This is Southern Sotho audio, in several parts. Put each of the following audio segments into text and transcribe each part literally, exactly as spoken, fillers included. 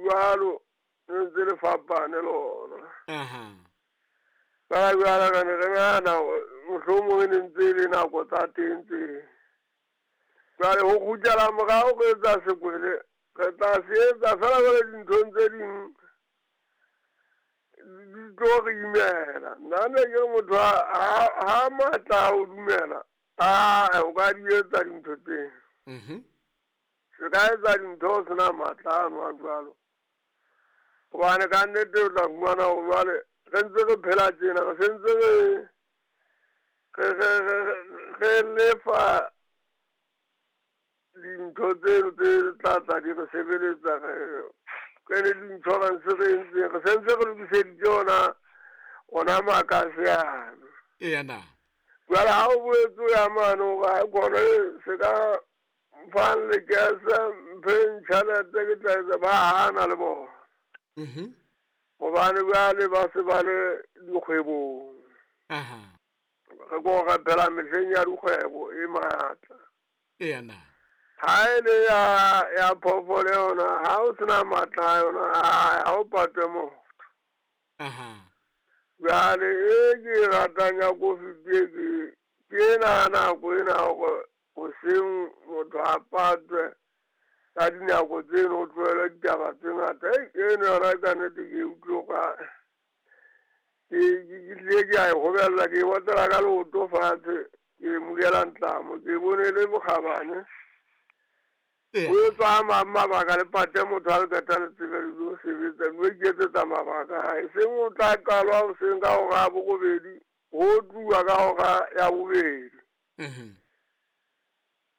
jwalo le ntse le fapane lona. Aha. Ka jwala ka ne re nahana mohlomong e ne ntse e le nako tsa teng tse. Jwale ho kgutlela morao re etsa sekwele, re tla se etsa fela jwale dinthong tse ding di tlo re imela. Nna ne ke re motho ha ha matla a ho dumela, a o ka di etsa dintho tseo. Mhm. Se ka etsa dintho o sena matla ano a jwalo. Hobane ka nnete o tla fumana hore jwale re ntse re phela tjena, re sentse re re re re lefa dintho tseno tse tla tla di re sebeletsa re re le di-insurance re entseng re sentse re lokiseditse ona ona makase ano. Eya na. Jwale ha o boetse o ya mane hore ha kgone se ka mfang lekese mpheng tjhelete ke tla etsa ba hana le bona. Mhm. Hobane jwale ba se ba le dikgwebong. Aha. Re ko re phela mehleng ya dikgwebo e matla. Eya na. Ha e le ya ya phoofolo yona ha o sena matla a yona ha o patwe motho. Aha. Jwale e ke e ratang ya kofi ke ke ke ena nako ena hore hoseng motho a patwe ka dinako tseno o tlohele ditaba tse ngata. Eno yona ka nnete ke utlwe ka ke ke tlile ke a e gobella ke e otlela ka leoto fatshe ke mokela ntlamo ke bone le bokgabane. Eya. O etswa a mang mabaka le pate motho ha le qeta le tsebe le lo sebetsa mme iketsetsa mabaka a hae. Seng o tla qalwa hoseng ka hora ya borobedi ho tluwa ka hora ya bobedi. Mhm.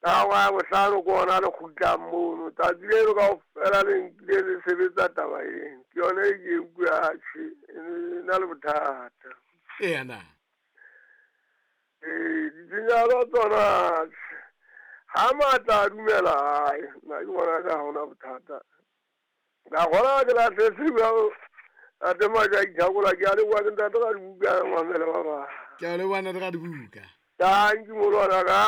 Ka hora ya bohlano ke ona le kgutlang mono. Tsatsi leno kaofela le nkile le sebetsa taba eno. Ke yona e ke utlwe atjhe e na le bothata. Eya na. Ee, ditshenyehelo tsona ha matla a dumela hae nna ke bona ka ha hona bothata. Ka kgona ke lahletse jwalo ate matja a ithakola ke a leboha ke ntate ka dibuka mamele ba bang. Ke a leboha ntate ka dibuka. Tanki molwana ka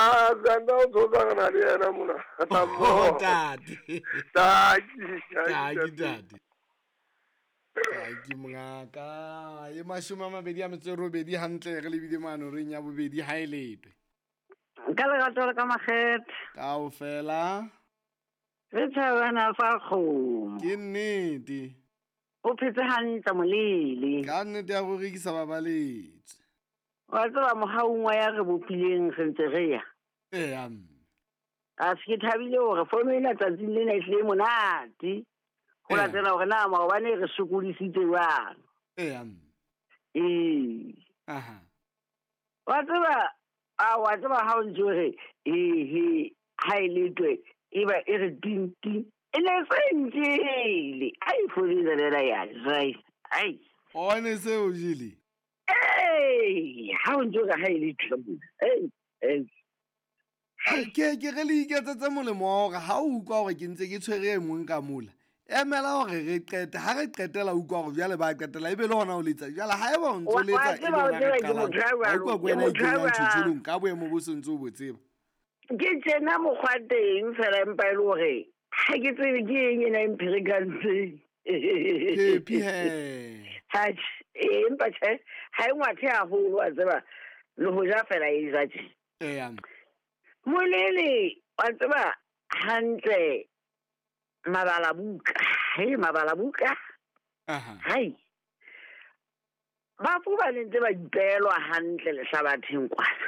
santa o tsotsa re na le yena mona. Oh, ntate. Tanki, Tanki ntate. Tanki mongaka. E mashome a mabedi a metso e robedi hantle re lebile mane horeng ya bobedi ha e letwe. Ka lerato le ka makgethe. Kaofela. Re thabana fa kgomo. Ke nnete. O phetse hantle molele. Ka nnete ya go rekisa babaletse. Wa tseba mohaung wa ya re bopileng re ntse re ya. Eya mme. A se ke thabile hore fono ena tsatsing lena e hlile monate. Ho Eya. latela hore na maobane re sokodisitse jwang. Eya mme. Ee. Aha. Wa tseba a wa tseba ha o ntse o re ehe ha e letwe e ba e re ting ting. E ne se ntjele. Ai fono ena ya jai. Ai. O ne se o jele. Ee, ha o ntse o re ha e letwe mona. Ei, ei. Ke ke re le iketsetse molemo wa hore ha o utlwa hore ke ntse ke tshwere e mong ka mola. Emela hore re qete, ha re qetela utlwa hore jwale ba qetela ebe le hona o letsa. Jwale ha eba o ntso Wa- letsa wa e tseba, le o hona re tseba ke qalang. motho ya Ha jwalo, utlwa ke ke wena e motho ya kenyang jwalo. tjhotjholong ka boemo bo sentse o bo tseba. Ke tjena mokgwa teng fela empa e le hore ha ke tsebe ke eng ena e mpherekantseng. Phephi he. Atjhe, ee, empa tjhe, ha e ngwathe haholo wa tseba le ho ja fela e ja tje. Eya mme. Molele wa tseba hantle mabala buka, he mabala buka. Aha. Hai. Bafu ba ne ntse ba ipelwa hantle lehlabatheng kwana.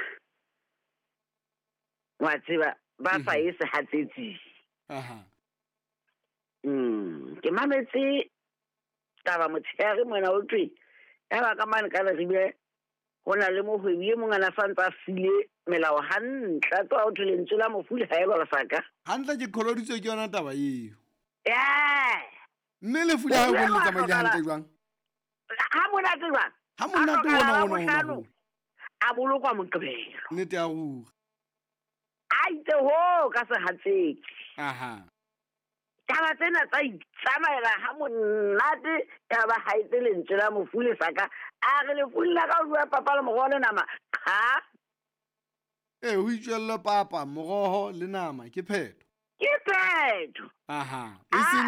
Wa tseba ba sa Mhm. e sehatsetsing. Aha. Mm, ke mametse taba motshehare mona o thwe ya ba ka mane ka Leribe ho na le mohwebi e mong a na sa ntse a sile melao hantle a tloha ho thwe lentswe la mofu le haelwa lesaka. Hantle ke kholoditswe ke yona taba eo. Ee. Mme lefu la hae Mofu bo le a tsamaile hlokahala. hantle jwang? Ha monate jwang? Ha monate A hona hlokahala hona hona bohlano, hona. a bolokwa Moqebelo. Nnete ya ruri. A itse ho ka sehatsetsi. Aha. Taba tsena tsa itsamaela ha monate ya ba ha itse lentswe la mofu lesaka. A re lefu la ka o bua papa le moroho le nama. Qha. Ee, ho itswelle papa, moroho le nama ke phetho. Ke phetho. Aha. E seng